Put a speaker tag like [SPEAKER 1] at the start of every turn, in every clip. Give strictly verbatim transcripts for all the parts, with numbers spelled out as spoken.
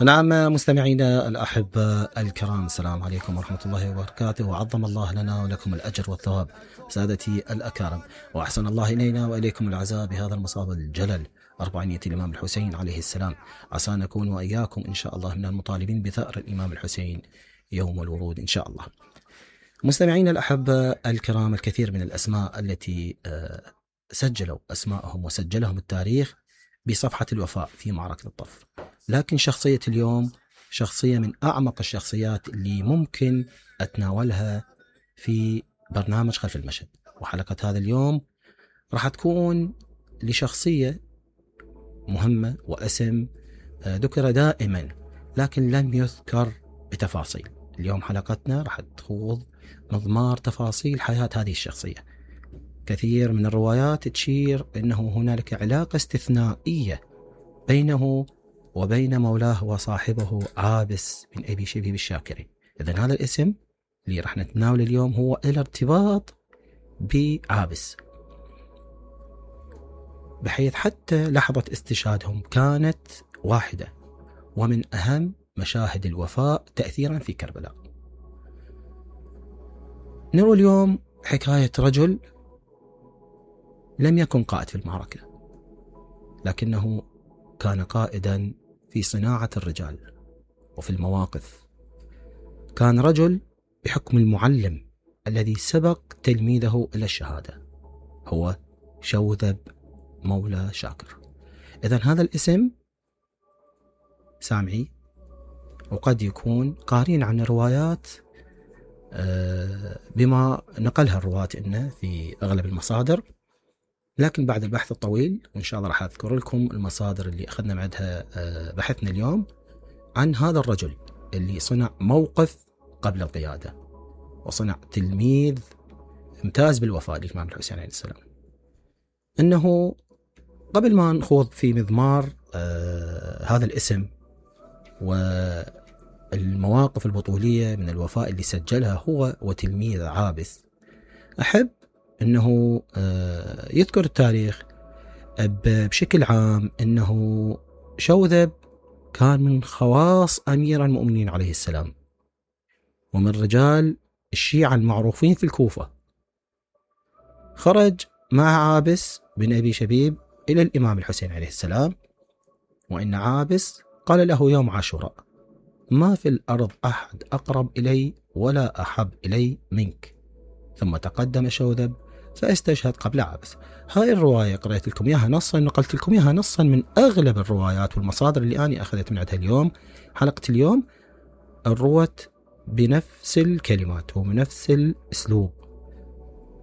[SPEAKER 1] نعم مستمعينا الأحباء الكرام، السلام عليكم ورحمة الله وبركاته، وعظم الله لنا ولكم الأجر والثواب سادتي الأكارم، وأحسن الله إلينا وإليكم العزاء بهذا المصاب الجلل أربعينية الإمام الحسين عليه السلام. عسى نكون وإياكم إن شاء الله من المطالبين بثأر الإمام الحسين يوم الورود إن شاء الله. مستمعينا الأحباء الكرام، الكثير من الأسماء التي سجلوا أسماءهم وسجلهم التاريخ بصفحة الوفاء في معركة الطف، لكن شخصية اليوم شخصية من أعمق الشخصيات اللي ممكن أتناولها في برنامج خلف المشهد. وحلقة هذا اليوم راح تكون لشخصية مهمة واسم ذكر دائما لكن لم يذكر بتفاصيل. اليوم حلقتنا راح تخوض مضمار تفاصيل حياة هذه الشخصية. كثير من الروايات تشير أنه هنالك علاقة استثنائية بينه وبين مولاه وصاحبه عابس بن أبي شبيب الشاكري. إذن هذا الاسم اللي راح نتناول اليوم هو الارتباط بعابس، بحيث حتى لحظة استشهادهم كانت واحدة ومن أهم مشاهد الوفاء تأثيرا في كربلاء. نروي اليوم حكاية رجل لم يكن قائد في المعركة، لكنه كان قائدا في صناعة الرجال وفي المواقف. كان رجل بحكم المعلم الذي سبق تلميذه إلى الشهادة، هو شوذب مولى شاكر. إذن هذا الاسم سامعي، وقد يكون قارين عن الروايات بما نقلها الرواة إنه في أغلب المصادر، لكن بعد البحث الطويل وإن شاء الله راح أذكر لكم المصادر اللي أخذنا معدها بحثنا اليوم عن هذا الرجل اللي صنع موقف قبل القيادة وصنع تلميذ امتاز بالوفاء للإمام الحسين عليه السلام. إنه قبل ما نخوض في مضمار آه هذا الاسم والمواقف البطولية من الوفاء اللي سجلها هو وتلميذ عابس، أحب أنه آه يذكر التاريخ بشكل عام أنه شوذب كان من خواص أمير المؤمنين عليه السلام، ومن رجال الشيعة المعروفين في الكوفة. خرج مع عابس بن أبي شبيب إلى الإمام الحسين عليه السلام، وإن عابس قال له يوم عاشوراء: ما في الأرض أحد أقرب إلي ولا أحب إلي منك. ثم تقدم شوذب فاستشهد قبل عابس. هاي الرواية قرأت لكم إياها نصا، نقلت لكم إياها نصا من أغلب الروايات والمصادر اللي أنا أخذت من عندها اليوم. حلقة اليوم الروت بنفس الكلمات وبنفس الأسلوب،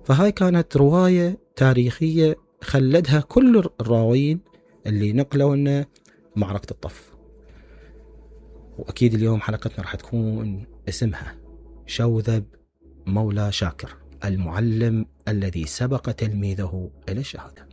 [SPEAKER 1] فهاي كانت رواية تاريخية خلدها كل الراوين اللي نقلوا لنا معركة الطف. وأكيد اليوم حلقتنا راح تكون اسمها شوذب مولى شاكر، المعلم الذي سبق تلميذه إلى الشهادة.